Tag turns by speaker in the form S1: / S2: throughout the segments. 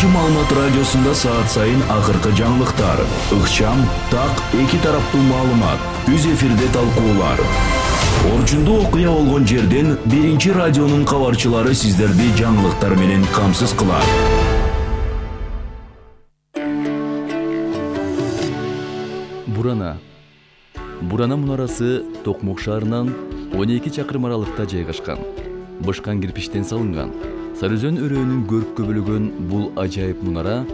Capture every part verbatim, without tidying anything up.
S1: Биринчи маалымат радиосунда саат сайын акыркы жаңылыктар, ыкчам, так, эки тараптуу маалымат, түз эфирде талкуулар. Орчундуу окуя болгон жерден Биринчи радионун кабарчылары сиздерди жаңылыктар менен камсыз кылат.
S2: Бурана. Бурана мунарасы Токмок шаарынан он эки чакырым аралыкта жайгашкан. Бышкан кирпичтен салынган. Сарыөзөн өрөөнүн көрккө бөлөгөн бул ажайып мунара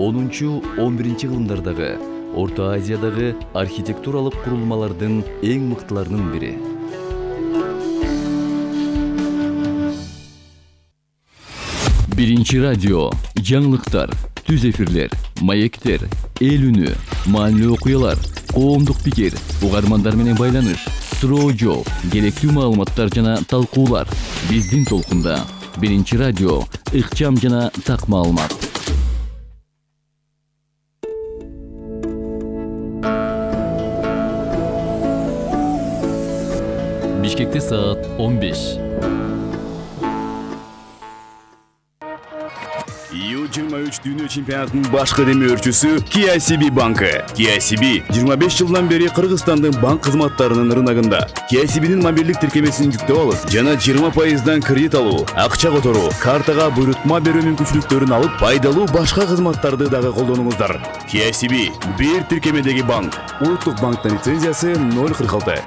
S2: онунчу он биринчи кылымдардагы Орто Азиядагы архитектуралык курулмалардын эң мыктыларынын бири. Биринчи радио, жаңылыктар, түз эфирлер, маектер, эл үнү, маанилүү окуялар, коомдук пикир, угармандар менен байланыш, суроо жооп, керектүү маалыматтар жана талкуулар. Биздин толкунда Биринчи радио, ыкчам жана так маалымат. Бишкекте саат он беш.
S3: ю жыйырма үч дүйнө чемпионатынын баш кадемөөрчүсү K I C B банкы. K I C B жыйырма беш жылдан бери Кыргызстандын банк кызматтарынын рыногунда. K I C B'нин мобилдик тиркемесин жүктөп алып, жана жыйырма пайыздан кредит алуу, акча которуу, картага буйрутма берүү мүмкүнчүлүктөрүн алып, пайдалуу башка кызматтарды дагы колдонуңуздар. K I C B бир тиркемедеги банк. Улуттук банктын лицензиясы ноль кырк алты.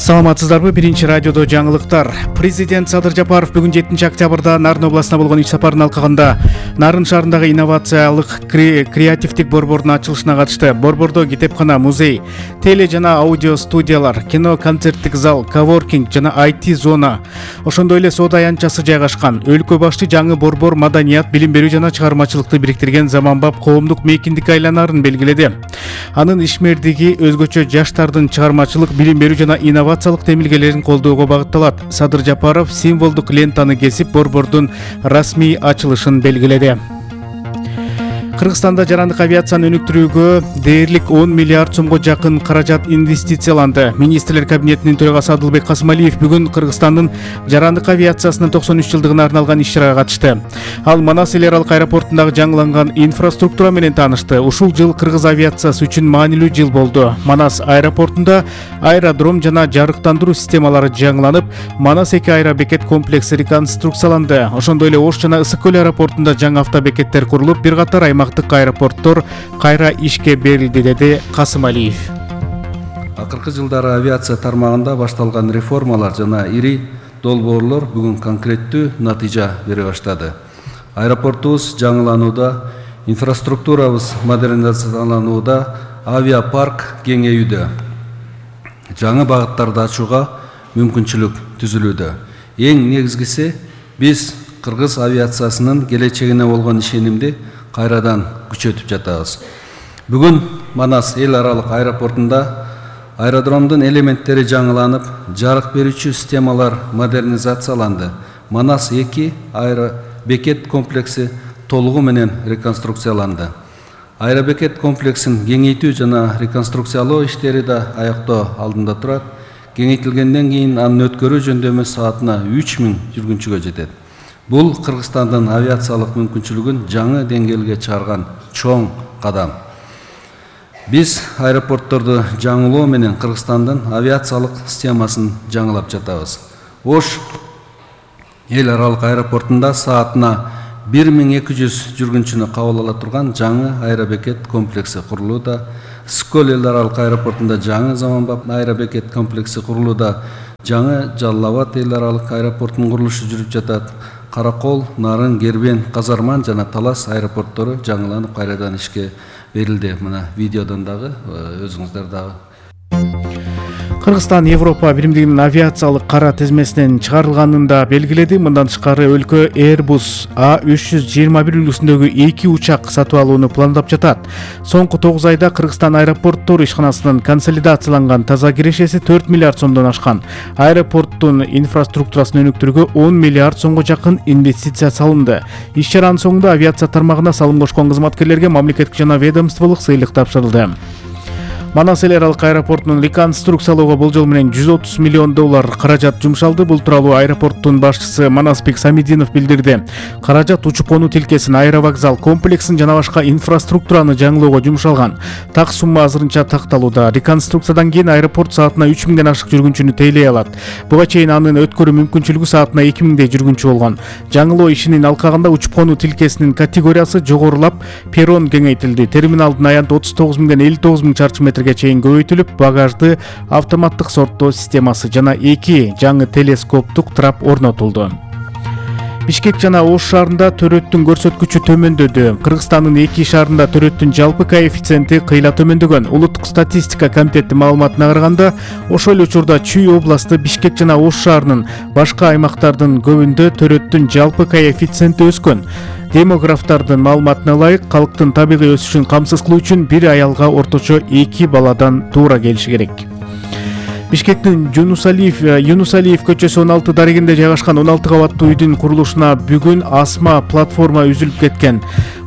S4: Саламатсыздарбы? Биринчи радиодо жаңылыктар. Президент Садыр Жапаров бүгүн жетинчи октябрда Нарын областына болгон иш сапарын алкаганда Нарын шаарындагы инновациялык креативдик борбордун ачылышына катышты. Борбордо китепкана, музей, теле жана аудио студиялар, кино, концерттик зал, коворкинг жана ай ти зона, ошондой эле соода аянтчасы жайгашкан. Өлкө башчы жаңы борбор маданият, билим берүү жана чыгармачылыкты бириктирген заманбап коомдук мейкиндикке айланаарын белгиледи. Анын ишмердиги өзгөчө жаштардын чыгармачылык, билим берүү жана инновациялык темилгелерин колдоого багытталат. Садыр Жапаров символдук лентаны кесип борбордун расмий ачылышын белгиледи. Кыргызстанда жарандык авиацияны өнүктүрүүгө дээрлик он миллиард сомго жакын каражат инвестицияланды. Министрлер кабинетинин төрагасы Адылбек Касымалиев бүгүн Кыргызстандын жарандык авиациясынын токсон үч жылдыгына арналган иш-чарага катышты. Ал Манас эл аралык аэропортундагы жаңыланган инфраструктура менен таанышты. Ушул жыл кыргыз авиациясы үчүн маанилүү жыл болду. Манас аэропортунда аэродром жана жарыктандыруу системалары жаңыланып, Манас эки аэробекет комплекси реконструкцияланды. Ошондой эле Ош жана Ысык көл аэропортунда жаңы автобекеттер курулуп, бир катар аймактык аэропорттор кайра ишке берилди, деди Касымалиев.
S5: Акыркы жылдары авиация тармагында башталган реформалар жана ири долбоорлор бүгүн конкреттүү натыйжа бере баштады. Аэропортубуз жаңыланууда, инфраструктурабыз модернизацияланууда, авиапарк кеңейүүдө, жаңы багыттарды ачууга мүмкүнчүлүк түзүлүүдө. Эң негизгиси, биз кыргыз авиациясынын келечегине болгон ишенимди кайрадан күчөтүп жатабыз. Бүгүн Манас эл аралык аэропортунда аэродромдун элементтери жаңыланып, жарык берүүчү системалар модернизацияланды. Манас эки аэробекет комплекси толугу менен реконструкцияланды. Аэробекет комплексин кеңейтүү жана реконструкциялоо иштери да аяктоо алдында турат. Кеңейтилгенден кийин анын өткөрүү жөндөмү саатына үч миң жүргүнчүгө жетет. Бул Кыргызстандын авиациялык мүмкүнчүлүгүн жаңы деңгээлге чыгарган чоң кадам. Биз аэропортторду жаңылоо менен Кыргызстандын авиациялык системасын жаңылап жатабыз. Ош эл аралык аэропортунда саатына бир миң эки жүз жүргүнчүнү кабыл ала турган жаңы аэробекет комплекси курулууда. Ысык көл эл аралык аэропортунда жаңы заманбап аэробекет комплекси курулууда. Жаңы Жалал Абад эл аралык аэропортунун курулушу жүрүп жатат. Каракол, Нарын, Кербен, Казарман жана Талас аэропорттору жаңыланып кайрадан ишке берилди. Мына видеодон дагы өзүңүздөр дагы.
S4: Кыргызстан Европа биримдигинин авиациялык кара тизмесинен чыгарылганын да белгиледи. Мындан тышкары өлкө Airbus А үч жүз жыйырма бир үлгүсүндөгү эки учак сатып алууну пландап жатат. Соңку тогуз айда Кыргызстан аэропорттор ишканасынын консолидацияланган таза кирешеси төрт миллиард сомдон ашкан. Аэропорттун инфраструктурасын өнүктүрүүгө он миллиард сомго жакын инвестиция салынды. Иш-чаранын соңунда авиация тармагына салым кошкон кызматкерлерге мамлекеттик жана ведомстволук сыйлык тапшырылды. Манас эл аралык аэропортунун реконструкциялоого болжол менен жүз отуз миллион доллар каражат жумшалды. Бул тууралуу аэропорттун башчысы Манасбек Самидинов билдирди. Каражат учуп конуу тилкесин, аэровокзал комплексин жана башка инфраструктураны жаңылоого жумшалган. Так сумма азырынча такталууда. Реконструкциядан кийин аэропорт саатына үч миңден ашык жүргүнчүнү тейлей алат. Буга чейин анын өткөрүү мүмкүнчүлүгү саатына эки миңдей жүргүнчү болгон. Жаңылоо ишинин алкагында учуп конуу тилкесинин категориясы жогорулап, перрон кеңейтилди. Терминалдын аянты отуз тогуз миңден элүү тогуз миң чарчы метрге чейин көбөйтүлүп, багажды автоматтык сорттоо системасы жана эки жаңы телескоптук трап орнотулду. Бишкек жана Ош шаарында төрөттүн көрсөткүчү төмөндөдү. Кыргызстандын эки шаарында төрөттүн жалпы коэффициенти кыйла төмөндөгөн. Улуттук статистика комитети маалыматына караганда, ошол эле учурда Чүй областы, Бишкек жана Ош шаарынын башка аймактардын көбүндө төрөттүн жалпы коэффициенти өскөн. Демографтардын маалыматына ылайык, калктын табигый өсүшүн камсыз кылуу үчүн бир аялга орточо эки баладан туура келиши керек. Бишкектин Юнусалиев Юнусалиев көчөсү он алты дарегинде жайгашкан он алты кабаттуу үйдүн курулушуна бүгүн асма платформа үзүлүп кеткен.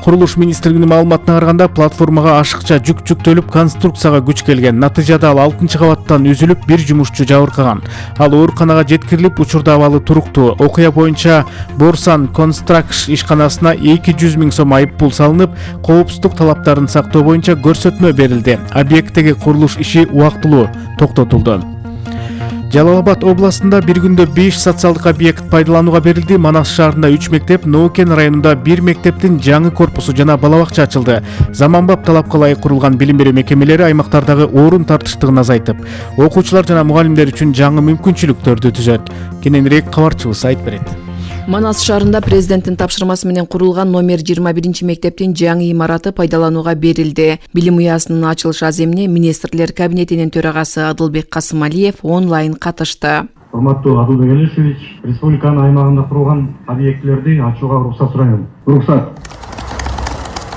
S4: Курулуш министрлигинин маалыматына караганда, платформага ашыкча жүк жүктөлүп, конструкцияга күч келген. Натыйжада ал алтынчы кабаттан үзүлүп, бир жумушчу жабыркаган. Ал ооруканага жеткирилип, учурда абалы туруктуу. Окуя боюнча Борсан Констракш ишканасына эки жүз миң сом айып пул салынып, коопсуздук талаптарын сактоо боюнча көрсөтмө берилди. Объекттеги курулуш иши убактылуу токтотулду. Жалал-Абад областында бир күндө беш социалдык объект пайдаланууга берилди. Манас шаарында үч мектеп, Ноокен районунда бир мектептин жаңы корпусу жана бала бакча ачылды. Заманбап талапка ылайык курулган билим берүү мекемелери аймактардагы орун тартыштыгын азайтып, окуучулар жана мугалимдер үчүн жаңы мүмкүнчүлүктөрдү түзөт. Кененирээк кабарчыбыз айтып берет.
S6: Манас шаарында президенттин тапшырмасы менен курулган номер жыйырма биринчи мектептин жаңы имараты пайдаланууга берилди. Билим уясынын ачылыш аземине министрлер кабинетинин төрагасы Адылбек Касымалиев онлайн катышты.
S7: Урматтуу Адылбек Элишевич, республиканын аймагында курулган объектилерди ачууга уруксат сурайм. Уруксат.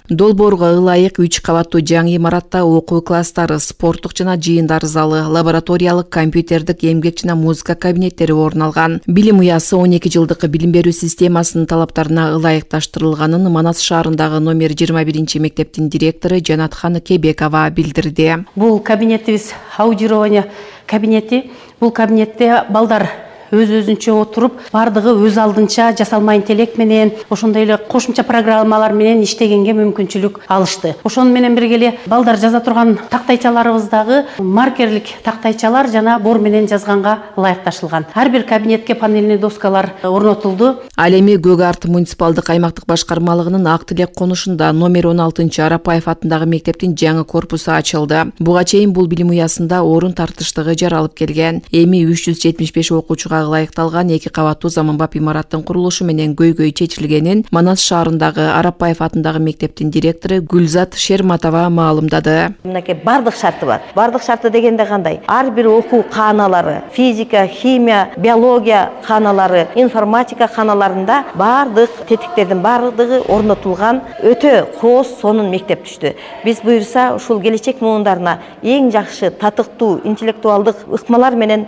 S6: Долбоорго ылайык үч кабаттуу жаңы имаратта окуу класстары, спорттук жана жыйындар залы, лабораториялык, компьютердик, эмгек жана музыка кабинеттери орун алган. Билим уясы он эки жылдык билим берүү системасынын талаптарына ылайыкташтырылганын Манас шаарындагы номер жыйырма биринчи мектептин директору Жанатхан Кебекова билдирди.
S8: Бул кабинетибиз аудирование кабинети. Бул кабинетте балдар өз-өзүнчө отуруп, бардыгы өз алдынча жасалма интеллект менен, ошондой эле кошумча программалар менен иштегенге мүмкүнчүлүк алышты. Ошону менен бирге эле балдар жаза турган тактайчаларыбыздагы маркерлик тактайчалар жана бор менен жазганга ылайыкташылган. Ар бир кабинетке панельный доскалар орнотулду.
S6: Ал эми Көк Арт муниципалдык аймактык башкармалыгынын Ак Тилек конушунда номер он алтынчы Арапаев атындагы мектептин жаңы корпусу ачылды. Буга чейин бул билим уясында орун тартыштыгы жаралып келген. Эми үч жүз жетимиш беш окуучуга ылайыкталган эки кабаттуу заманбап имараттын курулушу менен көйгөй чечилгенин Манас шаарындагы Арапаев атындагы мектептин директору Гүлзат Шерматова маалымдады.
S9: Мынакей бардык шарты бар. Бардык шарты дегенде кандай? Ар бир окуу кааналары, физика, химия, биология кааналары, информатика кааналарында бардык тетиктердин бардыгы орнотулган өтө кооз сонун мектеп түштү. Биз буюрса ушул келечек муундарына эң жакшы татыктуу интеллектуалдык ыкмалар менен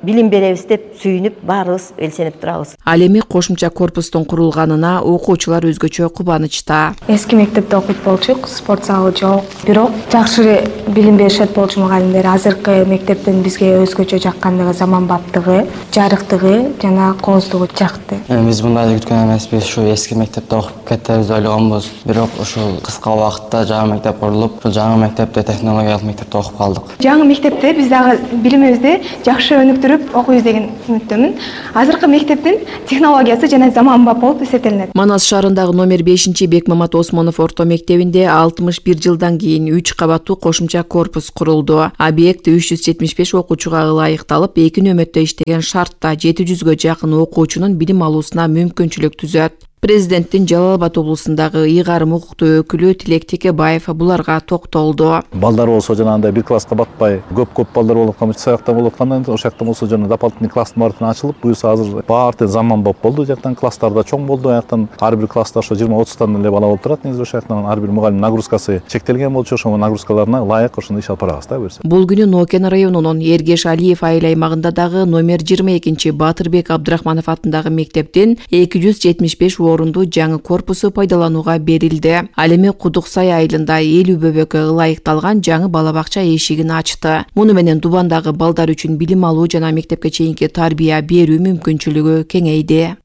S9: билим беребиз деп сүйүнүп, баарыбыз элсенип турабыз.
S6: Ал эми кошумча корпустун курулганына окуучулар өзгөчө кубанычта.
S10: Эски мектепте окуйт болчук, спорт залы жок. Бирок жакшы билим беришет болчу мугалимдер. Азыркы мектептин бизге өзгөчө жаккандыгы, заманбаптыгы, жарыктыгы жана кооздугу жакты.
S11: Биз мындай күткөн эмеспиз, ушу эски мектепте окуп кетебиз деп ойлогонбуз. Бирок ушул кыска убакытта жаңы мектеп курулуп, ушул жаңы мектепте, технологиялык мектепте окуп калдык.
S10: Жаңы мектепте биз дагы билимибизди жакшы өнүктүрүп окуйбуз деген үмүттөмүн. Азыркы мектептин технологиясы жана заманбап болуп эсептелинет.
S6: Манас шаарындагы номер бешинчи Бекмамат Осмонов орто мектебинде алтымыш бир жылдан кийин үч кабаттуу кошумча корпус курулду. Объект үч жүз жетимиш беш окуучуга ылайыкталып, эки нөмөттө иштеген шартта жети жүзгө жакын окуучунун билим алуусуна мүмкүнчүлүк түзөт. Президенттин Жалал-Абад облусундагы ыйгарым укуктуу өкүлү Тилек Текебаев буларга токтолду.
S12: Балдар болсо жанагындай бир класска батпай, көп-көп балдар болуп аткан саякта болуп аткандан кийин ошол жакта болсо жана дополнительный класстын баардыгы ачылып, буюрса азыр баары заманбап болду. Жактан класстар да чоң болду. Аяктан ар бир класста ошо жыйырма отуздан эле бала болуп турат. Негизи ошол жактан ар бир мугалим нагрузкасы чектелген болчу, ошол нагрузкаларына ылайык ошондой иш алып барабыз да буюрса.
S6: Бул күнү Ноокен районунун Эргеш Алиев айыл аймагында дагы номер жыйырма экинчи Батырбек Абдрахманов атындагы мектептин эки жүз жетимиш беш элүү орундуу жаңы корпусу пайдаланууга берилди. Ал эми Кудук Сай айылында элүү бөбөккө ылайыкталган жаңы бала бакча эшигин ачты. Муну менен Дубандагы балдар үчүн билим алуу жана мектепке чейинки тарбия берүү мүмкүнчүлүгү кеңейди.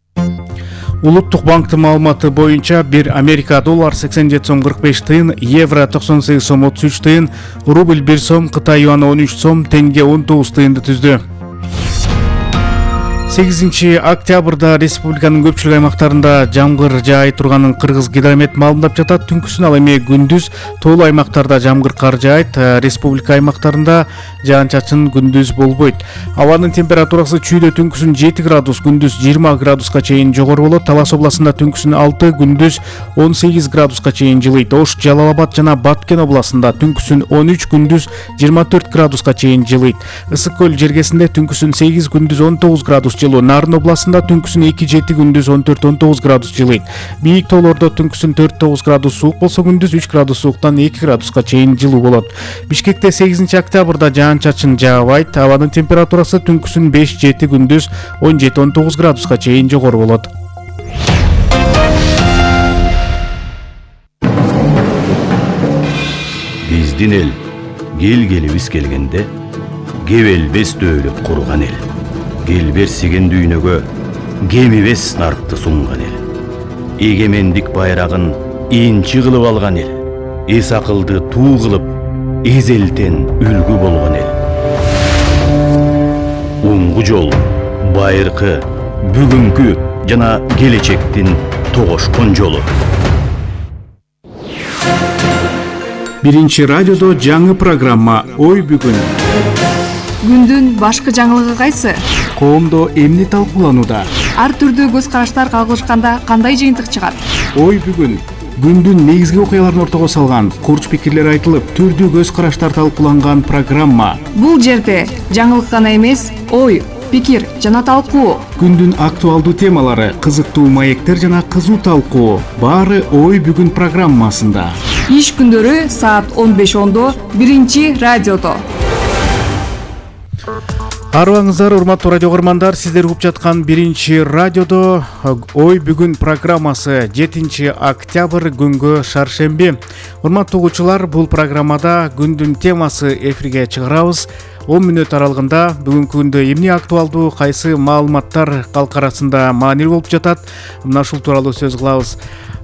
S4: Улуттук банктын маалыматы боюнча бир Америка доллар сексен жети сом кырк беш тыйын, евро токсон сегиз сом отуз үч тыйын, рубль бир сом, Кытай юаны он үч сом, тенге он тогуз тыйынды түздү. сегизинчи октябрда республиканын көпчүлүк аймактарында жамгыр жаай турганын Кыргыз гидромет маалымдап жатат. Түнкүсүн ал эми күндүз тоолуу аймактарда жамгыр кар жаайт. Республика аймактарында жаан-чачын күндүз болбойт. Абанын температурасы чүйдө түнкүсүн жети градус, күндүз жыйырма градуска чейин жогору болот. Талас областында түнкүсүн алты, күндүз он сегиз градуска чейин жылыйт. Ош, Жалал Абад жана Баткен областында түнкүсүн он үч, күндүз жыйырма төрт градуска чейин жылыйт. Ысык көл жергесинде түнкүсүн сегиз, күндүз он тогуз градус жылуу. Нарын областында түнкүсүн эки, жети, күндүз он төрт, он тогуз градус жылыйт. Бийик тоолордо түнкүсүн төрт, тогуз градус суук болсо, күндүз үч градус сууктан эки градуска чейин жылуу болот. Бишкекте сегизинчи октябрда жаан-чачын жаабайт. Абанын температурасы түнкүсүн беш, жети, күндүз он жети, он тогуз градуска чейин жогору болот.
S1: Биздин эл келгелибиз келгенде кебелбес дөөлөт курган эл. Келберсиген дүйнөгө кемибес нарыкты сунган эл. Эгемендик байрагын инчи кылып алган эл. Эс акылды туу кылып, эзелтен үлгү болгон эл. Уңгу жол, байыркы, бүгүнкү жана келечектин тогошкон жолу.
S4: Биринчи радиодо жаңы программа «Ой бүгүн».
S13: Күндүн башкы жаңылыгы кайсы?
S4: Коомдо эмне талкууланууда?
S13: Ар түрдүү көз караштар кагылышканда кандай жыйынтык чыгат?
S4: Ой бүгүн. Күндүн негизги окуяларын ортого салган, курч пикирлер айтылып, түрдүү көз караштар талкууланган программа.
S13: Бул жерде жаңылык гана эмес, ой, пикир жана талкуу.
S4: Күндүн актуалдуу темалары, кызыктуу маектер жана кызуу талкуу. Баары Ой бүгүн программасында.
S13: Иш күндөрү саат он беш ондо биринчи радиодо.
S4: Арыбаңыздар, урматтуу радио көрөрмандар, сиздер угуп жаткан биринчи радиодо Ой бүгүн программасы жетинчи октябрь күнгө шаршемби. Урматтуу угуучулар, бул программада күндүн темасы эфирге чыгарабыз. он мүнөт аралыгында бүгүнкү күндө эмне актуалдуу, кайсы маалыматтар калк арасында маанилүү болуп жатат, мына ушул тууралуу сөз кылабыз.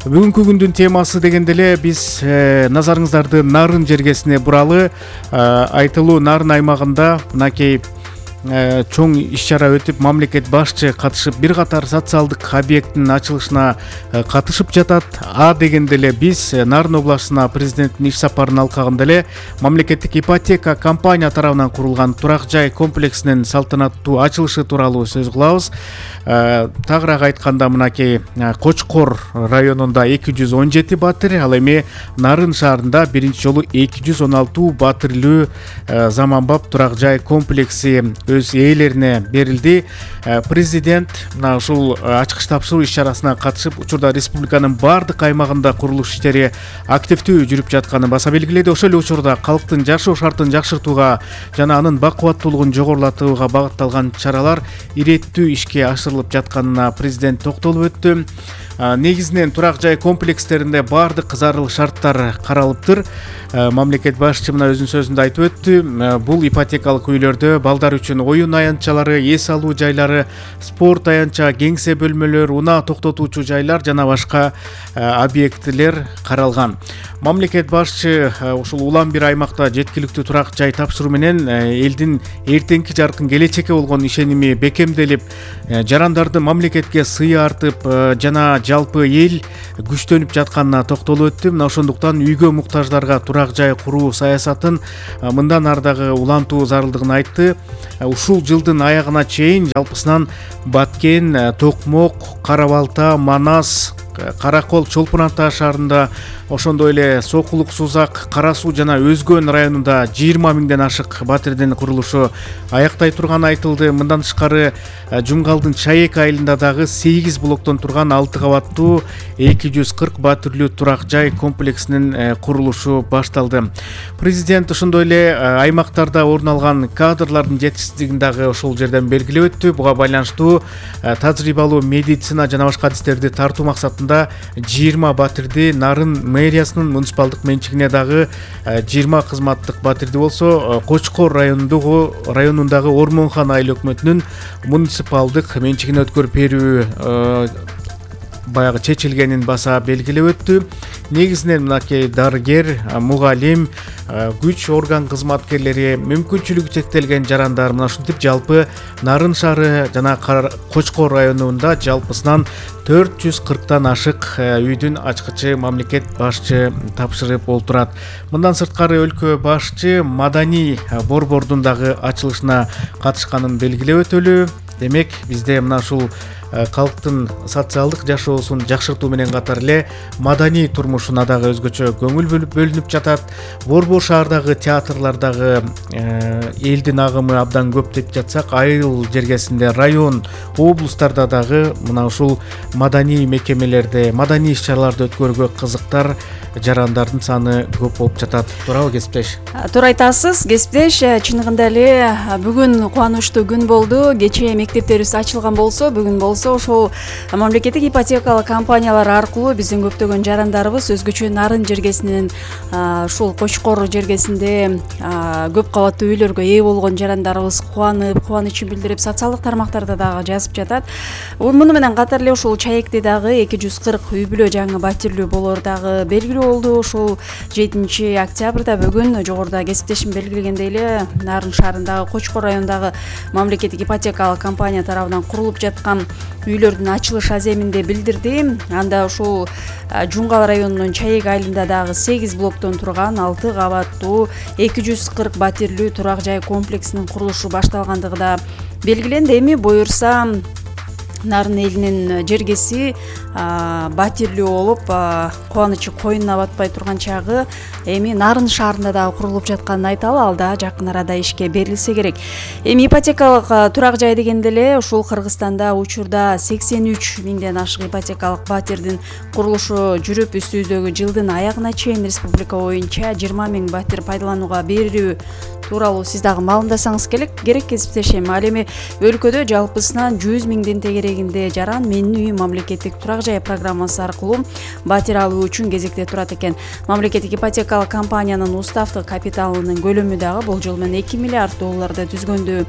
S4: Бүгүнкү күндүн темасы дегенде эле биз э, назарыңыздарды Нарын жергесине буралы. э, Айтылуу Нарын аймагында мынакей чоң иш-чара өтүп, мамлекет башчы катышып, бир катар социалдык объекттин ачылышына катышып жатат. А дегенде эле биз Нарын областына президенттин иш сапарын алкагында эле мамлекеттик ипотека компания тарабынан курулган турак жай комплексинин салтанаттуу ачылышы тууралуу сөз кылабыз. Тагыраак айтканда, мынакей Кочкор районунда эки жүз он жети батир, ал эми Нарын шаарында биринчи жолу эки жүз он алты батирлүү заманбап турак жай комплекси өз ээлерине берилди. Президент мына ушул ачкыч тапшыруу иш-чарасына катышып, учурда республиканын баардык аймагында курулуш иштери активдүү жүрүп жатканын баса белгиледи. Ошол эле учурда калктын жашоо шартын жакшыртууга жана анын бакубаттуулугун жогорулатууга багытталган чаралар иреттүү ишке ашырылып жатканына президент токтолуп өттү. Негизинен турак жай комплекстеринде баардык зарыл шарттар каралыптыр. Мамлекет башчы мына өзүнүн сөзүндө айтып өттү. Бул ипотекалык үйлөрдө балдар үчүн оюн аянтчалары, эс алуу жайлары, спорт аянтча, кеңсе бөлмөлөр, унаа токтотуучу жайлар жана башка объектилер каралган. Мамлекет башчы ушул улам бир аймакта жеткиликтүү турак жай тапшыруу менен элдин эртеңки жаркын келечекке болгон ишеними бекемделип, жарандарды мамлекетке сыйы артып жана жалпы эл күчтөнүп жатканына токтолуп өттү. Мына ошондуктан үйгө муктаждарга турак жай куруу саясатын мындан ары дагы улантуу зарылдыгын айтты. Ушул жылдын аягына чейин жалпысынан Баткен, Токмок, Кара Балта, Манас, Каракол, Чолпон Ата шаарында, ошондой эле Сокулук, Сузак, Кара Суу жана Өзгөн районунда жыйырма миңден ашык батирдин курулушу аяктай турганы айтылды. Мындан тышкары Жумгалдын Чаек айылында дагы сегиз блоктон турган алты кабаттуу эки жүз кырк батирлүү турак жай комплексинин курулушу башталды. Президент ошондой эле аймактарда орун алган кадрлардын жетишсиздигин дагы ошол жерден белгилеп өттү. Буга байланыштуу тажрыйбалуу медицина жана башка адистерди тартуу максатында жыйырма батирди, Нарын мэриясынын муниципалдык менчигине дагы жыйырма кызматтык батирди болсо, Кочкор районундагы районундагы Ормонхан айыл өкмөтүнүн муниципалдык менчигине өткөрүп берүү баягы чечилгенин баса белгилеп өттү. Негизинен мынакей дарыгер, мугалим, күч орган кызматкерлери, мүмкүнчүлүгү чектелген жарандар, мына ушинтип жалпы Нарын шаары жана Кочкор районунда жалпысынан төрт жүз кырктан ашык үйдүн ачкычы мамлекет башчы тапшырып олтурат. Мындан сырткары өлкө башчы маданий борбордун дагы ачылышына катышканын белгилеп өтөлү. Демек, бизде мына ушул калктын социалдык жашоосун жакшыртуу менен катар эле маданий турмушуна дагы өзгөчө көңүл бөлүнүп жатат. Борбор шаардагы театрлардагы элдин агымы абдан көп деп жатсак, айыл жергесинде, район, облустарда дагы мына ушул маданий мекемелерде, маданий иш-чараларды өткөрүүгө кызыктар жарандардын саны көп болуп жатат. Туурабы, кесиптеш?
S14: Туура айтасыз, кесиптеш. Чыныгында эле бүгүн кубанычтуу күн болду. Кечээ мектептерибиз ачылган болсо, бүгүн болсо ошол мамлекеттик ипотекалык компаниялар аркылуу биздин көптөгөн жарандарыбыз өзгөчө Нарын жергесинин ушул Кочкор жергесинде көп кабаттуу үйлөргө ээ болгон жарандарыбыз кубанып, кубанычын билдирип социалдык тармактарда дагы жазып жатат. Муну менен катар эле ушул Чаекте дагы эки жүз кырк үй бүлө жаңы батирлүү болор дагы белгилүү болду. Ушул жетинчи октябрда бүгүн жогоруда кесиптешим белгилегендей эле Нарын шаарындагы Кочкор районундагы мамлекеттик ипотекалык компания тарабынан курулуп жаткан үйлөрдүн ачылыш аземинде билдирди. Анда ушул Жунгал районунун Чаек айылында дагы сегиз блоктон турган алты кабаттуу эки жүз кырк батирлүү турак жай комплексинин курулушу башталгандыгы да белгиленди. Эми буюрса Нарын элинин жергеси батирлүү болуп, кубанычы коюнуна батпай турган чагы эми Нарын шаарында дагы курулуп жатканын айталы, ал да жакын арада ишке берилсе керек. Эми ипотекалык турак жай дегенде эле ушул Кыргызстанда учурда сексен үч миңден ашык ипотекалык батирдин курулушу жүрүп, үстүбүздөгү жылдын аягына чейин республика боюнча жыйырма миң батир пайдаланууга берилүү тууралуу сиз дагы маалымдасаңыз керек кесиптешем. Ал эми өлкөдө жалпысынан жүз миңдин тегерегинде жаран Менин үйүм мамлекеттик турак жай программасы аркылуу батир алуу үчүн кезекте турат экен. Мамлекеттик ипотекалык компаниянын уставдык капиталынын көлөмү дагы болжол менен эки миллиард долларды түзгөндү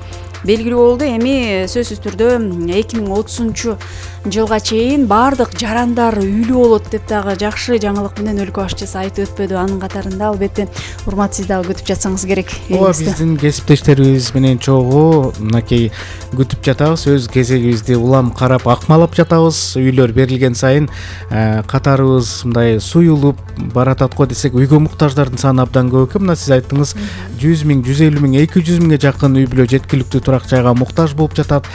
S14: белгилүү болду. Эми сөзсүз түрдө эки миң отузунчу жылга чейин баардык жарандар үйлүү болот деп дагы жакшы жаңылык менен өлкө башчысы айтып өтпөдү. Анын катарында албетте урмат сиз дагы күтүп жатсаңыз керек.
S4: Ооба, биздин кесиптештерибиз менен чогуу мынакей күтүп жатабыз. Өз кезегибизди улам карап, акмалап жатабыз. Үйлөр берилген сайын катарыбыз мындай суюлуп баратат го десек, үйгө муктаждардын саны абдан көп экен. Мына сиз айттыңыз, жүз миң, жүз элүү миң, эки жүз миңге жакын үй бүлө жеткиликтүү турак жайга муктаж болуп жатат.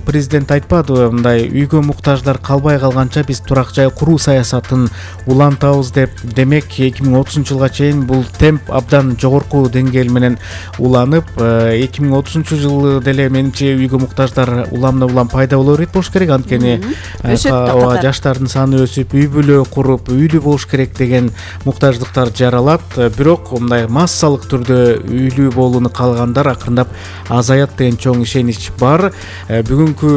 S4: Президент айтпадыбы, мындай үйгө муктаждар калбай калганча биз турак жай куруу саясатын улантабыз деп. Демек, эки миң отузунчу жылга чейин бул темп абдан жогорку деңгээл менен уланып, эки миң отузунчу жылы деле менимче үйгө муктаждар уламдан-улам пайда боло берет болуш керек. Анткени жаштардын саны өсүп, үй бүлө куруп, үйлүү болуш керек деген муктаждыктар жаралат. Бирок мындай массалык түрдө үйлүү болууну каалагандар акырындап азаят деген чоң ишенич бар. Бүгүнкү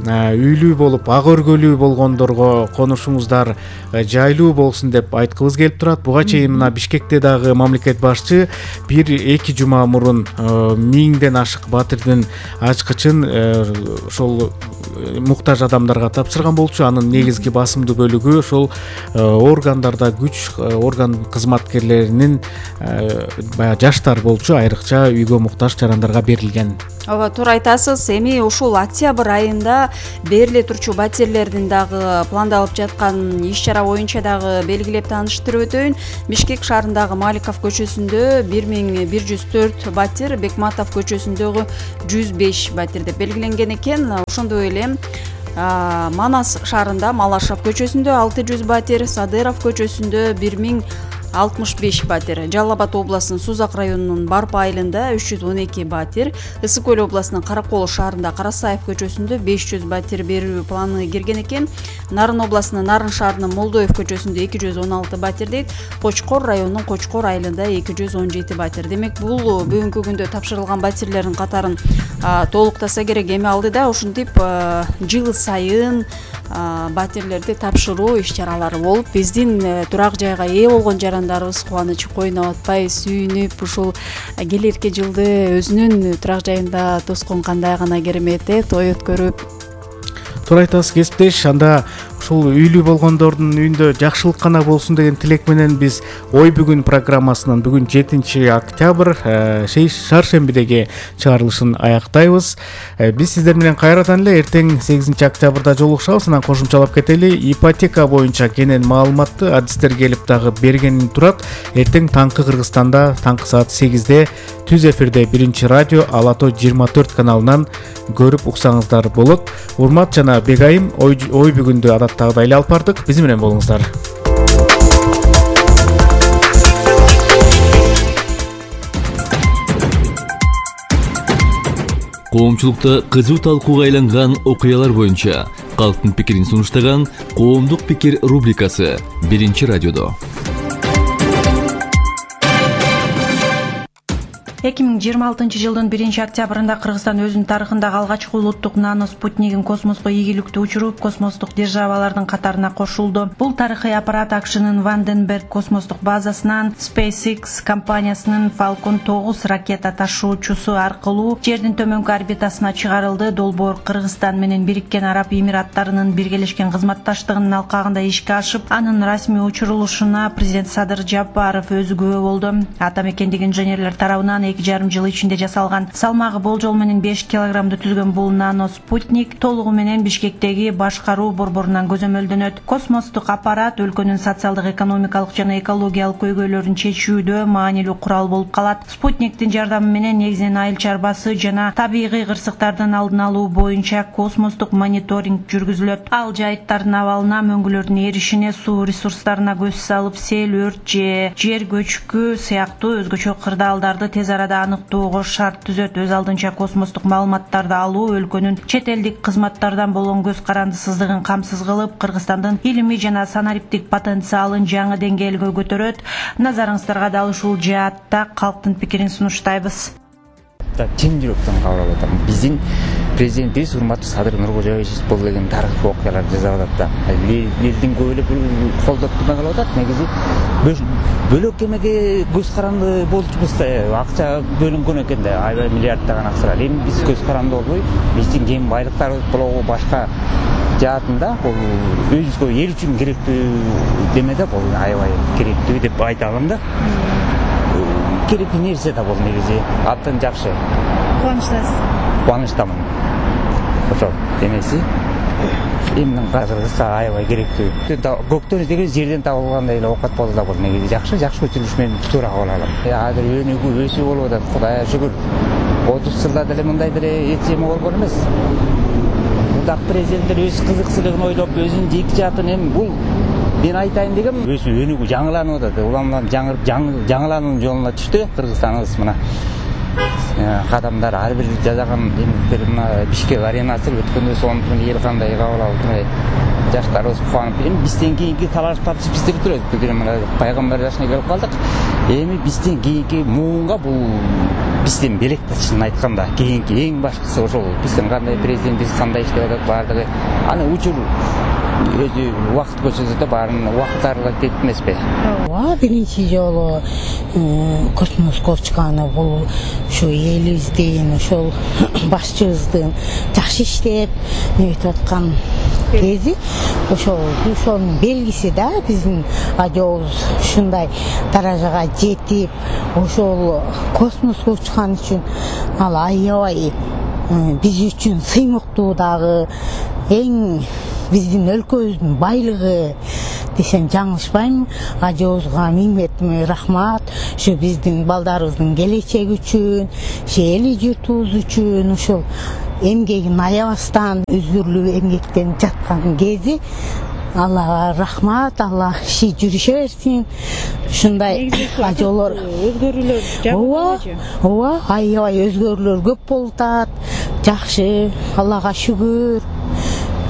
S4: үйлүү болуп, ак өргөлүү болгондорго конушуңуздар жайлуу болсун деп айткыбыз келип турат. Буга чейин мына Бишкекте дагы мамлекет башчы бир эки жума мурун миңден ашык батирдин ачкычын ошол муктаж адамдарга тапшырган болчу. Анын негизги басымдуу бөлүгү ошол органдарда күч орган кызматкерлеринин баягы жаштар болчу, айрыкча үйгө муктаж жарандарга берилген.
S14: Ооба, туура айтасыз. Эми ушул октябрь айында бериле турчу батирлердин дагы пландалып жаткан иш-чара боюнча дагы белгилеп тааныштырып өтөйүн. Бишкек шаарындагы Маликов көчөсүндө бир миң бир жүз төрт батир, Бекматов көчөсүндөгү жүз беш батир деп белгиленген экен. Ошондой эле Манас шаарында Малашев көчөсүндө алты жүз батир, Садыров көчөсүндө бир миң алтымыш беш батир, Жалал Абад областынын Сузак районунун Барпа айылында үч жүз он эки батир, Ысык Көл областынын Каракол шаарында Карасаев көчөсүндө беш жүз батир берүү планы кирген экен. Нарын областынын Нарын шаарынын Молдоев көчөсүндө эки жүз он алты батир дейт. Кочкор районунун Кочкор айылында эки жүз он жети батир. Демек, бул бүгүнкү күндө тапшырылган батирлердин катарын толуктаса керек. Эми алдыда ушинтип жыл сайын батирлерди тапшыруу иш-чаралары болуп, биздин турак жайга ээ болгон жарандарыбыз кубанычы койноп атпай сүйүнүп, ушул келерки жылды өзүнүн турак жайында тоскон кандай гана керемет той өткөрүп.
S4: Туура айтасыз кесиптеш. Анда ушул үйлүү болгондордун үйүндө жакшылык гана болсун деген тилек менен биз Ой бүгүн программасынын бүгүн жетинчи октябрь шаршембидеги чыгарылышын аяктайбыз. Биз сиздер менен кайрадан эле эртең сегизинчи октябрда жолугушабыз. Анан кошумчалап кетели. Ипотека боюнча кенен маалыматты адистер келип дагы бергени турат. Эртең таңкы Кыргызстанда таңкы саат сегизде түз эфирде биринчи радио Ала Тоо жыйырма төрт каналынан көрүп уксаңыздар болот. Урмат жана Бегайым ой, ой бүгүндү адаттагыдай эле алып бардык. Биз менен болуңуздар.
S2: Коомчулукта кызуу талкууга айланган окуялар боюнча калктын пикирин сунуштаган Коомдук пикир рубрикасы биринчи радиодо.
S15: эки миң жыйырма алтынчы жылдын биринчи октябрында Кыргызстан өзүнүн тарыхындагы алгачкы улуттук нано спутнигин космоско ийгиликтүү учуруп, космостук державалардын катарына кошулду. Бул тарыхый аппарат АКШнын Ванденберг космостук базасынан SpaceX компаниясынын Falcon тогуз ракета ташуучусу аркылуу жердин төмөнкү орбитасына чыгарылды. Долбоор Кыргызстан менен Бириккен Араб Эмираттарынын биргелешкен кызматташтыгынын алкагында ишке ашып, анын расмий учурулушуна президент Садыр Жапаров өзү күбө болду. Атамекендик инженерлер тарабынан эки жарым жыл ичинде жасалган, салмагы болжол менен беш килограммды түзгөн бул нано спутник толугу менен Бишкектеги башкаруу борборунан көзөмөлдөнөт. Космостук аппарат өлкөнүн социалдык, экономикалык жана экологиялык көйгөйлөрүн чечүүдө маанилүү курал болуп калат. Спутниктин жардамы менен негизинен айыл чарбасы жана табигый кырсыктардын алдын алуу боюнча космостук мониторинг жүргүзүлөт. Ал жайыттардын абалына, мөңгүлөрдүн эришине, суу ресурстарына көз салып, сел, өрт же жер көчкү сыяктуу өзгөчө кырдаалдарды тез арада аныктоого шарт түзөт. Өз алдынча космостук маалыматтарды алуу өлкөнүн чет элдик кызматтардан болгон көз карандысыздыгын камсыз кылып, Кыргызстандын илимий жана санариптик потенциалын жаңы деңгээлге көтөрөт. Назарыңыздарга дал ушул жаатта калктын пикирин сунуштайбыз.
S16: Чын жүрөктөн кабыл алып атам. Биздин президентибиз урматтуу Садыр Нуркожоевич бул деген тарыхый окуяларды жасап атат да. Элдин көп эле колдоп турган калып атат. Негизи бөлөк эмеге көз каранды болчубуз да, акча бөлүнгөн экен да, аябай миллиарддаган акчалар. Эми биз көз каранды болбой, биздин кен байлыктарыбыз болобу башка жаатында бул өзүбүзгө эл үчүн керектүү деме да, бул аябай керектүү деп айта алам да. Керектүү нерсе да бул негизи. Абдан жакшы.
S15: Кубанычтасыз?
S16: Кубанычтамын. Ошо эмеси эмнин казыргысы аябай керектүү. Көктөн деген жерден табылгандай эле оокат болду да бул негизи жакшы, жакшы көчүрүш менен туура кабыл алам. Азыр өнүгүү өсүү болуп атат, Кудайга шүгүр. отуз жылда деле мындай деле этсеме болгон эмес. Мындак президенттер өз кызыкчылыгын ойлоп, өзүнүн жеки жаатын эми бул мен айтайын дегем, өсүү өнүгүү жаңыланып атат. Уламдан жаңылануунун жолуна түштү Кыргызстаныбыз. Мына кадамдар ар бир жасаган эмдер мына Бишкек аренасы өткөндө сонун эл кандай кабыл алып, жаштарыбыз кубанып, эми бизден кийинки талаш тартыш биздер турат. Бүгүн мына пайгамбар жашына келип калдык. Эми бизден кийинки муунга бул бизден белек да, чынын айтканда. Кийинки эң башкысы ошол. Биздин кандай президентибиз кандай иштеп атат баардыгы. Аны учур өзү убакыт көрсөтөт да, баарын убакыт аралап кетип эмеспи?
S17: Ооба, биринчи жолу космоско чыкканы бул ушу элибиздин, ошол башчыбыздын жакшы иштеп нетип аткан кези. Ошол ошонун белгиси да, биздин радиобуз ушундай даражага жетип, ошол космоско учкан үчүн ал аябай биз үчүн сыймыктуу дагы, эң биздин өлкөбүздүн байлыгы десем жаңылышпайм. Радиобузга миңмет рахмат. Ушу биздин балдарыбыздын келечеги үчүн, эл журтубуз үчүн ушул эмгегин аябастан үзүрлүү эмгектенип жаткан кези. Аллага рахмат, Алла иши жүрүшө берсин. Ушундай ажоолор,
S10: өзгөрүүлөр
S17: жакшы. Ооба, аябай өзгөрүүлөр көп болуп атат. Жакшы, Аллага шүгүр.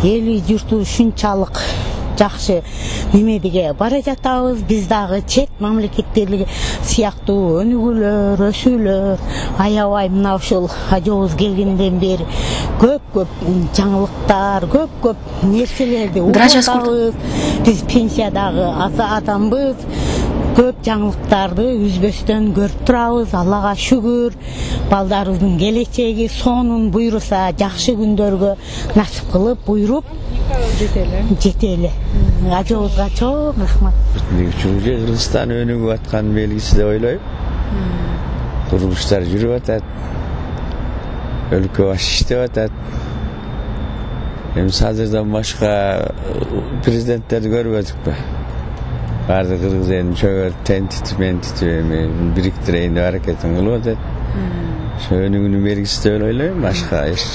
S17: Эли журту ушунчалык жакшы немедеге бара жатабыз. Биз дагы чет мамлекеттерге сыяктуу өнүгүүлөр, өсүүлөр аябай мына ушул ажообуз келгенден бери көп-көп жаңылыктар, көп-көп нерселерди угабыз. Биз пенсиядагы адамбыз. Көп жаңылыктарды үзбөстөн көрүп турабыз. Аллага шүгүр. Балдарыбыздын келечеги сонун буйруса жакшы күндөргө насип кылып буйруп жетели. Жетели. Ажообузга чоң рахмат.
S18: Кыргызстан өнүгүп аткан белгиси деп ойлойм. Курулуштар жүрүп атат. Өлкө баш иштеп атат. Эми азырдан башка президенттерди көрбөдүкпү? Баардык кыргыз элин чөгөрүп тентитип ментитип эми бириктирейин деп аракетин кылып атат. Ошо өнүгүүнүн белгиси деп ойлойм. Башка эч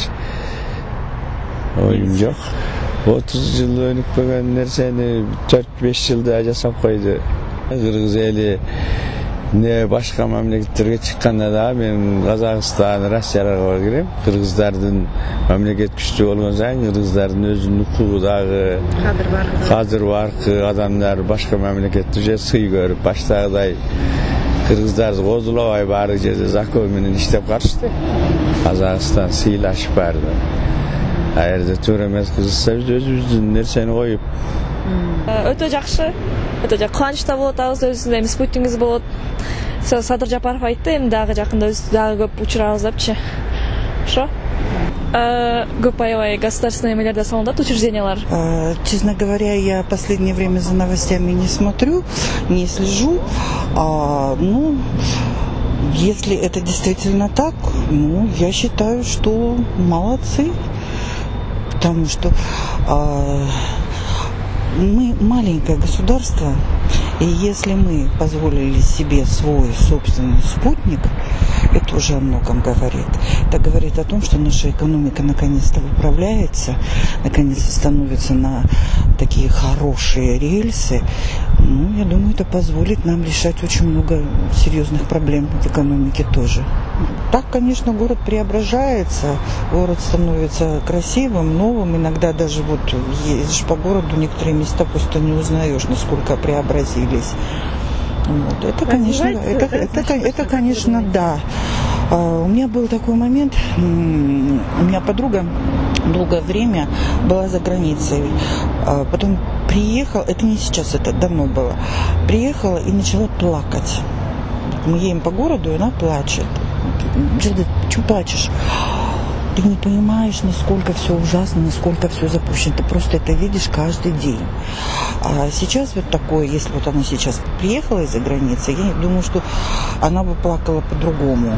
S18: оюм жок. отуз жыл өнүкпөгөн нерсени төрт беш жылда жасап койду. Кыргыз эли не башка мамлекеттерге чыкканда дагы мен Казакстан, Россияга барып кирем. Кыргыздардын мамлекет күчтүү болгон сайын кыргыздардын өзүнүн укугу дагы кадыр баркы адамдар башка мамлекетте же сый көрүп баштагыдай кыргыздарды козулабай баардык жерде закон менен иштеп карышты. Казакстан сыйлашып барды. А жерде туура эмес кылышса биз өзүбүздүн нерсени коюп
S19: өтө жакшы, өтө жакшы кубанычта болуп атабыз. Өзүбүздүн эми спутнигибиз болот. Садыр Жапаров айтты, эми дагы жакында дагы көп учурабыз депчи. Ошо. Көп аябай государственный эмелерде салынат, учреждениялар.
S20: Честно говоря, я в последнее время за новостями не смотрю, не слежу. А, ну, если это действительно так, ну, я считаю, что молодцы. Потому что а, мы маленькое государство, и если мы позволили себе свой собственный спутник, это уже о многом говорит. Это говорит о том, что наша экономика наконец-то выправляется, наконец-то становится на такие хорошие рельсы. Ну, я думаю, это позволит нам решать очень много серьезных проблем в экономике тоже. Так, конечно, город преображается, город становится красивым, новым. Иногда даже вот ездишь по городу, некоторые места просто не узнаешь, насколько преобразились. Вот. Это, конечно, это, это, это, это, конечно, да. Uh, у меня был такой момент, у меня подруга долгое время была за границей, uh, потом приехала, это не сейчас, это давно было, приехала и начала плакать. Мы едем по городу, и она плачет. Джеда, что плачешь? Ты не понимаешь, насколько все ужасно, насколько все запущено. Ты просто это видишь каждый день. А сейчас вот такое, если вот она сейчас приехала из-за границы, я думаю, что она бы плакала по-другому.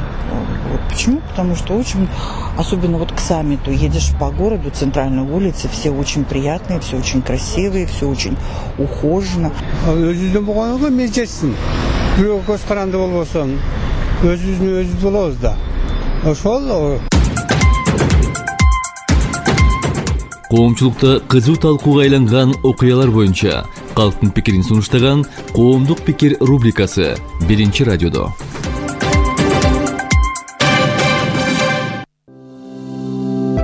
S20: Вот. Почему? Потому что очень, особенно вот к саммиту, едешь по городу, центральной улице, все очень приятные, все очень красивые, все очень ухожено.
S21: Өзүздөн болгонго мезжетсин. Бирөө көз каранды болбосун, өзүбүздүн өзүбүз болобуз да. Ошол
S2: Коомчулукта кызуу талкууга айланган окуялар боюнча калктын пикирин сунуштаган Коомдук пикир рубрикасы биринчи радиодо.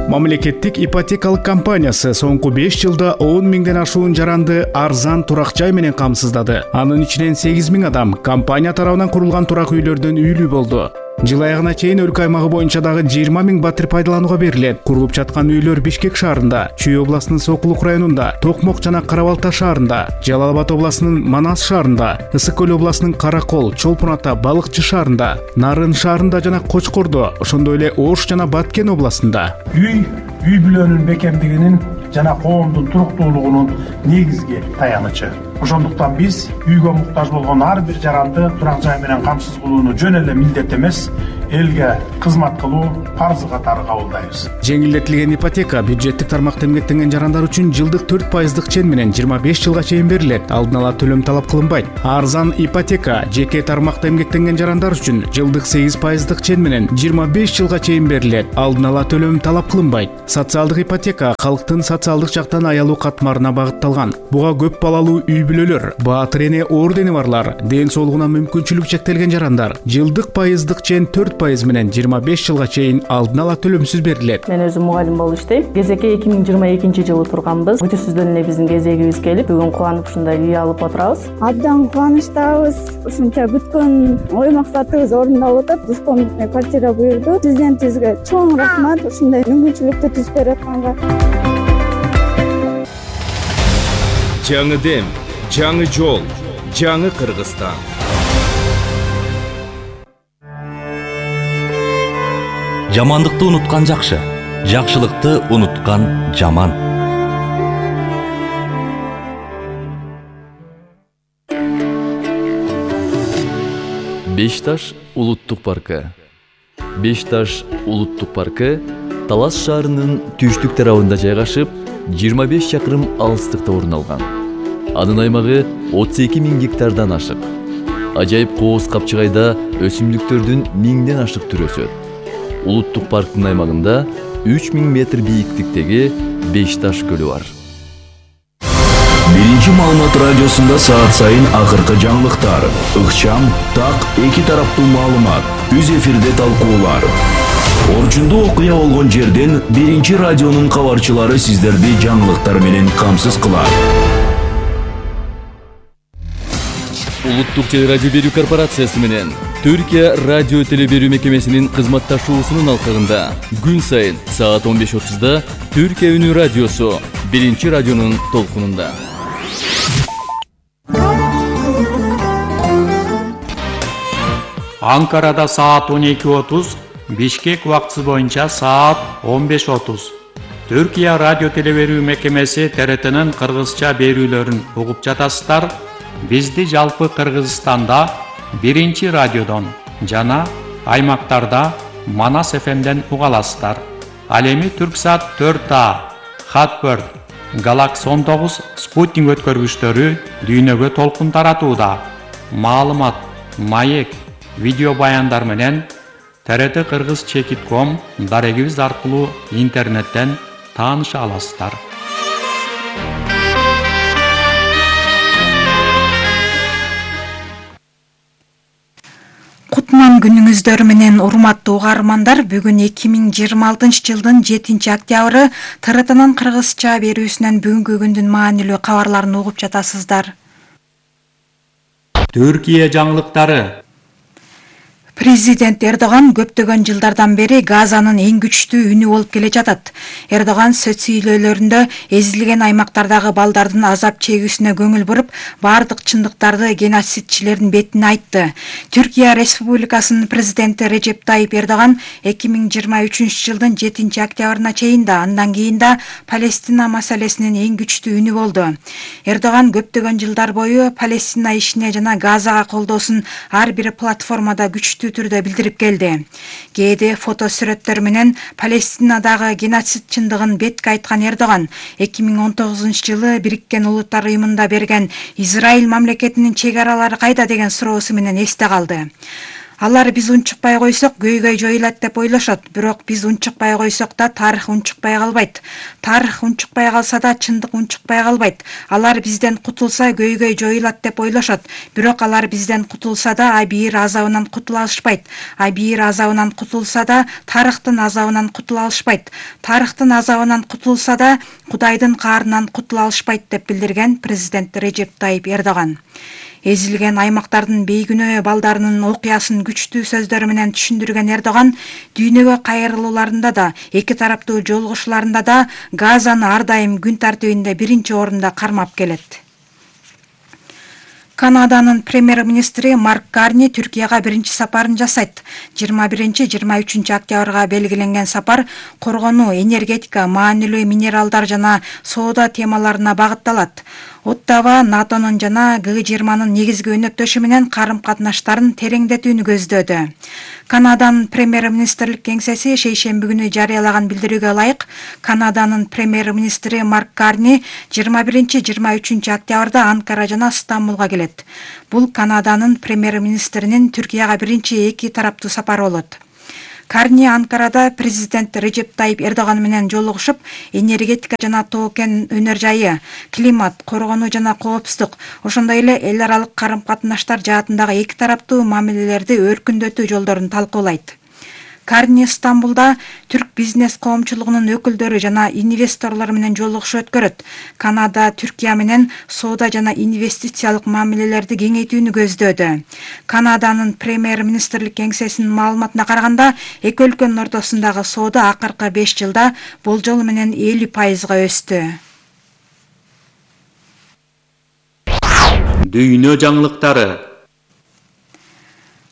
S4: Мамлекеттик ипотекалык компаниясы соңку беш жылда он миңден ашуун жаранды арзан турак жай менен камсыздады. Анын ичинен сегиз миң адам компания тарабынан курулган турак үйлөрдөн үйлүү болду. Жыл аягына чейин өлкө аймагы боюнча дагы жыйырма миң батир пайдаланууга берилет. Курулуп жаткан үйлөр Бишкек шаарында, Чүй областынын Сокулук районунда, Токмок жана Кара Балта шаарында, Жалал Абад областынын Манас шаарында, Ысык Көл областынын Каракол, Чолпон Ата, Балыкчы шаарында, Нарын шаарында жана Кочкордо, ошондой эле Ош жана Баткен областында.
S22: Үй үй бүлөнүн бекемдигинин жана коомдун туруктуулугунун негизги таянычы.
S3: Ошондуктан биз үйгө муктаж болгон ар бир жаранды турак жай менен камсыз кылууну жөн эле милдет эмес, элге кызмат кылуу парзы катары кабылдайбыз.
S4: Жеңилдетилген ипотека бюджеттик тармакта эмгектенген жарандар үчүн жылдык төрт пайыздык чен менен жыйырма беш жылга чейин берилет. Алдын ала төлөм талап кылынбайт. Арзан ипотека жеке тармакта эмгектенген жарандар үчүн жылдык сегиз пайыздык чен менен жыйырма беш жылга чейин берилет. Алдын ала төлөм талап кылынбайт. Социалдык ипотека калктын социалдык жактан аялуу катмарына багытталган. Буга көп балалуу үй бүлөлөр, баатыр эне ордени барлар, ден соолугуна мүмкүнчүлүк чектелген жарандар жылдык пайыздык чен төрт пайыз менен жыйырма беш жылга чейин алдын ала төлөмсүз берилет.
S22: Мен өзүм мугалим болуп иштейм. Кезекке эки миң жыйырма экинчи жылы турганбыз. Күтүүсүздөн эле биздин кезегибиз келип, бүгүн кубанып ушундай үй алып отурабыз.
S23: Абдан кубанычтабыз. Ушунча күткөн ой максатыбыз орундалып атат. Двухкомнатный квартира буйрду. Президентибизге чоң рахмат ушундай мүмкүнчүлүктү түзүп берип атканга.
S1: Жаңы дем, жаңы жол, жаңы Кыргызстан.
S24: Жамандыкты унуткан жакшы, жакшылыкты унуткан жаман.
S2: Бешташ улуттук паркы. Бешташ улуттук паркы Талас шаарынын түштүк тарабында жайгашып, жыйырма беш чакырым алыстыкта орун алган. Анын аймагы отуз эки миң гектардан ашык. Ажайып кооз капчыгайда өсүмдүктөрдүн миңден ашык түрү өсөт. Улуттук парктын аймагында үч миң метр бийиктиктеги Бешташ көлү бар.
S1: Биринчи маалымат радиосунда саат сайын акыркы жаңылыктар, ыкчам, так, эки тараптуу маалымат, үз эфирде талкуулар. Орчундуу окуя болгон жерден биринчи радионун кабарчылары сиздерди жаңылыктар менен камсыз кылат.
S2: Улуттук телерадио берүү корпорациясы менен Түркия радио телеберүү мекемесинин кызматташуусунун алкагында күн сайын саат он беш отузда Түркия үнү радиосу биринчи радионун толкунунда.
S25: Анкарада саат он эки отуз, Бишкек убактысы боюнча саат он беш отуз. Түркия радио телеберүү мекемеси Т Р Т'нын кыргызча берүүлөрүн угуп жатасыздар. Бизди жалпы Кыргызстанда биринчи радиодон жана аймактарда Манас эф эмден уга аласыздар. Ал эми Түрксат төрт А, Хатбird, Galaxy он тогуз спутник өткөргүчтөрү дүйнөгө толкун таратууда. Маалымат, маек, видео баяндар менен Т Р Т Кыргыз чекит точка ком дарегибиз аркылуу интернеттен тааныша аласыздар.
S26: Кутман күнүңүздөр менен урматтуу угармандар, бүгүн эки миң жыйырма алтынчы жылдын жетинчи октябры Т Р Т'нын кыргызча берүүсүнөн бүгүнкү күндүн маанилүү кабарларын угуп жатасыздар.
S25: Түркия жаңылыктары.
S26: Президент Эрдоган көптөгөн жылдардан бери Газанын эң күчтүү үнү болуп келе жатат. Эрдоган сөз сүйлөөлөрүндө эзилген аймактардагы балдардын азап чегүүсүнө көңүл буруп, бардык чындыктарды геноцидчилердин бетине айтты. Түркия Республикасынын президенти Режеп Тайип Эрдоган эки миң жыйырма үчүнчү жылдын жетинчи октябрына чейин да, андан кийин да Палестина маселесинин эң күчтүү үнү болду. Эрдоган көптөгөн жылдар бою Палестина ишине жана Газага колдоосун ар бир платформада күчтүү түрдө билдирип келди. Кээде фото сүрөттөр менен Палестинадагы геноцид чындыгын бетке айткан Эрдоган эки миң он тогузунчу жылы Бириккен Улуттар уюмунда берген Израиль мамлекетинин чек аралары кайда деген суроосу менен эсте калды. Алар биз унчукпай койсок көйгөй жоюлат деп ойлошот, бирок биз унчукпай койсок да тарых унчукпай калбайт. Тарых унчукпай калса да чындык унчукпай калбайт. Алар бизден кутулса көйгөй жоюлат деп ойлошот, бирок алар бизден кутулса да Абийир азабынан кутула алышпайт. Абийир азабынан кутулса да тарыхтын азабынан кутула алышпайт. Тарыхтын азабынан кутулса да Кудайдын каарынан кутула алышпайт деп билдирген президент Режеп Тайип Эрдоган. Эзилген аймактардын бейгүнөө балдарынын окуясын күчтүү сөздөр менен түшүндүргөн Эрдоган дүйнөгө кайрылууларында да, эки тараптуу жолугушууларында да Газаны ар дайым күн тартибинде биринчи орунда кармап келет. Канаданын премьер-министри Марк Карни Түркияга биринчи сапарын жасайт. жыйырма биринчи жыйырма үчүнчү октябрга белгиленген сапар коргонуу, энергетика, маанилүү минералдар жана соода темаларына багытталат. Оттава НАТОнун жана Г жыйырманын негизги өнөктөшү менен карым-катнаштарын тереңдетүүнү көздөдү. Канаданын премьер-министрлик кеңсеси шейшемби күнү жарыялаган билдирүүгө ылайык, Канаданын премьер-министри Марк Карни жыйырма биринчи жыйырма үчүнчү октябрда Анкара жана Стамбулга келет. Бул Канаданын премьер-министринин Түркияга биринчи эки тараптуу сапары болот. Карни Анкарада президент Режеп Тайип Эрдоган менен жолугушуп, энергетика жана тоо кен өнөр жайы, климат, коргонуу жана коопсуздук, ошондой эле эл аралык карым-катнаштар жаатындагы эки тараптуу мамилелерди өркүндөтүү жолдорун талкуулайт. Карни Стамбулда түрк бизнес коомчулугунун өкүлдөрү жана инвесторлор менен жолугушуу өткөрөт. Канада Түркия менен соода жана инвестициялык мамилелерди кеңейтүүнү көздөдү. Канаданын премьер-министрлик кеңсесинин маалыматына караганда, эки өлкөнүн ортосундагы соода акыркы беш жылда болжол менен элүү пайызга өстү.
S25: Дүйнө жаңылыктары.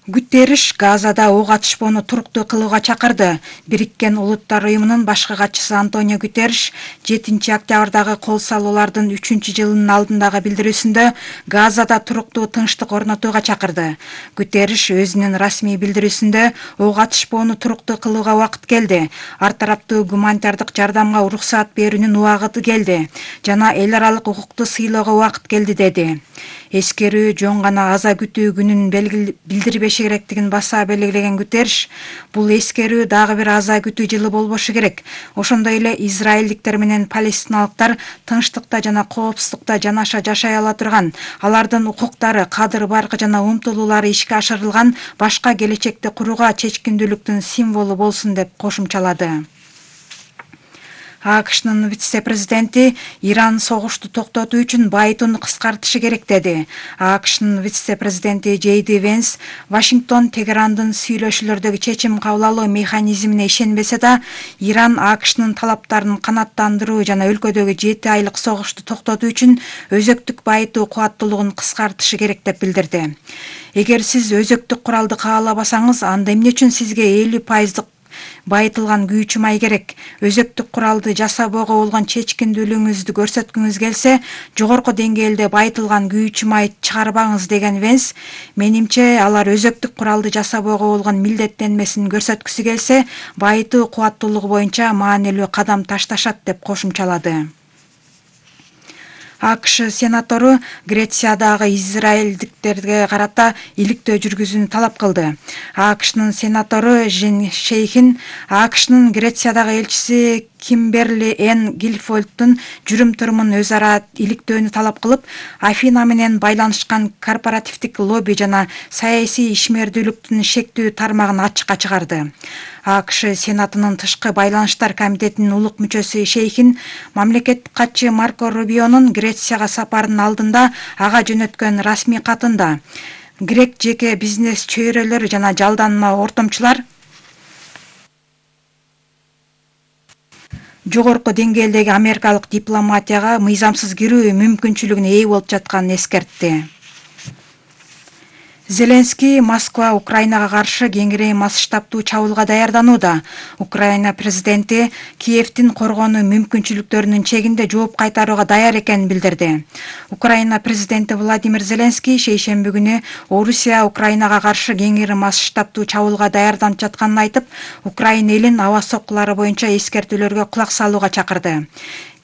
S26: Гутерриш Газада ок атышпоону туруктуу кылууга чакырды. Бириккен Улуттар уюмунун башкы катчысы Антонио Гутерриш жетинчи октябрдагы кол салуулардын үчүнчү жылынын алдындагы билдирүүсүндө Газада туруктуу тынчтык орнотууга чакырды. Гутерриш өзүнүн расмий билдирүүсүндө ок атышпоону туруктуу кылууга убакыт келди. Ар тараптуу гуманитардык жардамга уруксаат берүүнүн убагыты келди жана эл аралык укукту сыйлоого убакыт келди деди. Эскерүү жөн гана аза күтүү күнүн билдирбеши керектигин баса белгилеген Гутерриш, бул эскерүү дагы бир аза күтүү жылы болбошу керек. Ошондой эле израилдиктер менен палестиналыктар тынчтыкта жана коопсуздукта жанаша жашай ала турган, алардын укуктары, кадыр баркы жана умтулуулары ишке ашырылган башка келечекти курууга чечкиндүүлүктүн символу болсун деп кошумчалады. АКШнын вице-президенти Иран согушту токтотуу үчүн байытууну кыскартышы керек деди. АКШнын вице-президенти Джейди Венс Вашингтон Тегерандын сүйлөшүүлөрдөгү чечим кабыл алуу механизмине ишенбесе да, Иран АКШнын талаптарын канааттандыруу жана өлкөдөгү жети айлык согушту токтотуу үчүн өзөктүк байытуу кубаттуулугун кыскартышы керек деп билдирди. Эгер сиз өзөктүк куралды каалабасаңыз, анда эмне үчүн сизге элүү пайыздык байытылган күйүүчү май керек? Өзөктүк куралды жасабоого болгон чечкиндүүлүгүңүздү көрсөткүңүз келсе, жогорку деңгээлде байытылган күйүүчү май чыгарбаңыз деген Венс, менимче алар өзөктүк куралды жасабоого болгон милдеттенмесин көрсөткүсү келсе, байытуу кубаттуулугу боюнча маанилүү кадам ташташат деп кошумчалады. АКШ сенатору Грециядагы израилдиктерге карата иликтөө жүргүзүүнү талап кылды. АКШнын сенатору Жин Шейхин АКШнын Грециядагы элчиси Кимберли Н. Гилфолдтун жүрүм-турумун өз ара иликтөөнү талап кылып, Афина менен байланышкан корпоративдик лобби жана саясий ишмердүүлүктүн шектүү тармагын ачыкка чыгарды. АКШ Сенатынын тышкы байланыштар комитетинин улук мүчөсү Шейхин мамлекеттик катчы Марко Рубионун Грецияга сапарынын алдында ага жөнөткөн расмий катында грек жеке бизнес чөйрөлөр жана жалданма ортомчулар жогорку деңгээлдеги америкалык дипломатияга мыйзамсыз кирүү мүмкүнчүлүгүнө ээ болуп жатканын эскертти. Зеленский Москва Украинага каршы кеңири масштабтуу чабуулга даярданууда. Украина президенти Киевдин коргонуу мүмкүнчүлүктөрүнүн чегинде жооп кайтарууга даяр экенин билдирди. Украина президенти Владимир Зеленский шейшемби күнү Орусия Украинага каршы кеңири масштабтуу чабуулга даярданып жатканын айтып, Украина элин аба соккулары боюнча эскертүүлөргө кулак салууга чакырды.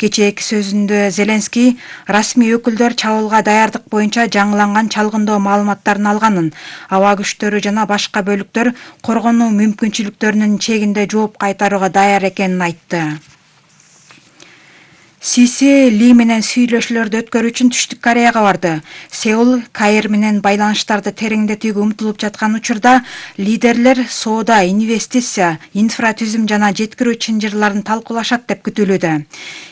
S26: Кечээки сөзүндө Зеленский расмий өкүлдөр чабуулга даярдык боюнча жаңыланган чалгындоо маалыматтарын алганын, аба күчтөрү жана башка бөлүктөр коргонуу мүмкүнчүлүктөрүнүн чегинде жооп кайтарууга даяр экенин айтты. Сиси Ли менен сүйлөшүүлөрдү өткөрүү үчүн Түштүк Кореяга барды. Сеул Каир менен байланыштарды тереңдетүүгө умтулуп жаткан учурда лидерлер соода, инвестиция, инфратүзүм жана жеткирүү чынжырларын талкуулашат деп күтүлүүдө.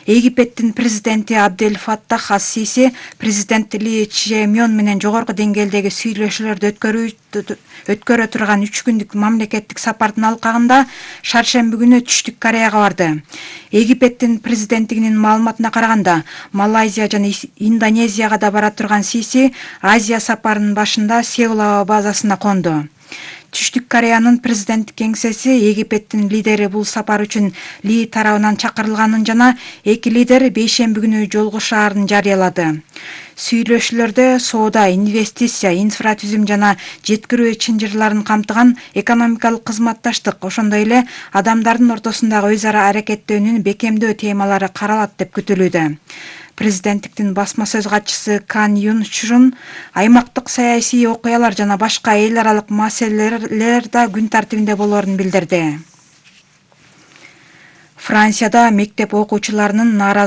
S26: Египеттин президенти Абдель Фаттах ас-Сиси президент Ли Чжемён менен жогорку деңгээлдеги сүйлөшүүлөрдү өткөрүү өткөрө турган үч күндүк мамлекеттик сапардын алкагында шаршемби күнү Түштүк Кореяга барды. Египеттин президенттигинин маалыматына караганда, Малайзия жана Индонезияга да бара турган Сиси Азия сапарынын башында Сеул аба базасына конду. Түштүк Кореянын президенттик кеңсеси Египеттин лидери бул сапар үчүн Ли тарабынан чакырылганын жана эки лидер бейшемби күнү жолугушаарын жарыялады. Сүйлөшүүлөрдө соода, инвестиция, инфратүзүм жана жеткирүү чынжырларын камтыган экономикалык кызматташтык, ошондой эле адамдардын ортосундагы өз ара аракеттөөнүн бекемдөө темалары каралат деп күтүлүүдө. Президенттиктин басма сөз катчысы Кан Юн Чжун аймактык саясий окуялар жана башка эл аралык маселелер да күн тартибинде болоорун билдирди. Францияда мектеп окуучуларынын нааразы